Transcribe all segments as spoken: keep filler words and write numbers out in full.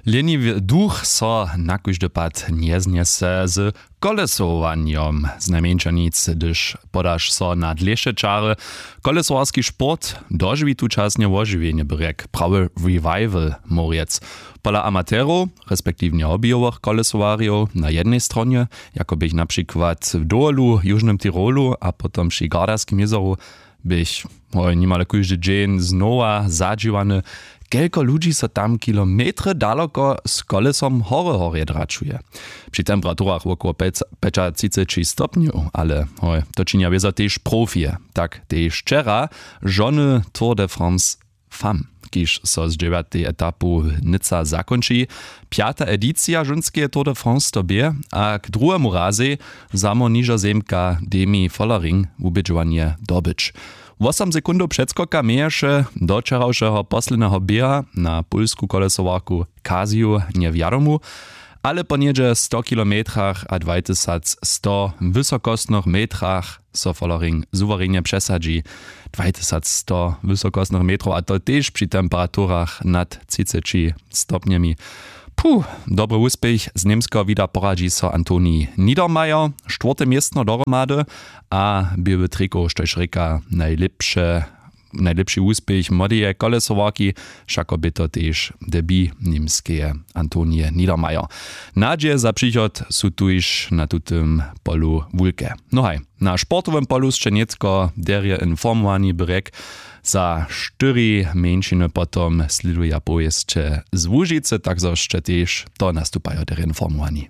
Leniwy duch so na kóždy pad njeznjese z kolesowanjom, znajmjeńša nic hdyž podaš so na dlěše čary. Kolesowarski sport dožiwi tučasnje wožiwjenje, byrjek prawy revival móh rjec. Pola amaterow respektiwnje hobbyjowych kolesowarjow na jednej stronje, jako běch na přikład w dowolu w južnym tirolu a potom při gardarskim jězoru, běch hoj nimale kóždy dźeń znowa zadźiwany, kelko ludźi so tam kilometry daloko z kolesom hory horje dračuje. Při temperaturach wokoło pjeć- pjećatřiceći stopnjow, ale hoj, to činja wězo tež profije. Tak tež wčera žony Tour de France femme, kiž so z dźewjatej etapu nyca zakónči. Pjata edicija žónskeje Tour de France to bě a k druhemu razej za mor nižozemka Demi Follering wubědźowanje dobyć. Wosom sekundow předskoka měješe do wčerawšeho posledneho běha na pólsku kolesowarku Casio njewjadomu, ale po něhdźe sto kilometrach a dwajtysacsto wysokostnych metrach so Follering suwerenje přesadźi. Dwajtysacsto wysokostnych metrow a to tež při temperaturach nad třiceći stopnjemi. Puh, dobry wuspěch z Němskeho wida poradźi so Antonij Niedermayer. Štwórte městno dohromady a běły trikow, štož rěka najlěpše, najlěpši wuspěch młodeje kolesowarki, wšako bě to tež debut Němskeje Antonije Niedermayer. Nadźije za přichod su tuž na tutym polu wulke. No haj, na sportowym polu sće nětko derje informowani, byrjek za štyri mjeńšiny potom slěduja powěsće z Łužicy, tak zo sće tež to nastupajo derje informowani.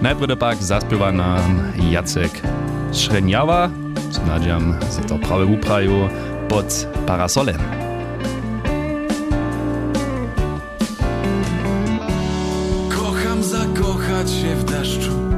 Najprjedy pak zaspěwa nam Jacek Šrjenjawa, so nadźijam, zo to prawje wuprajił, pod parasolem. Kocham zakochać się w deszczu.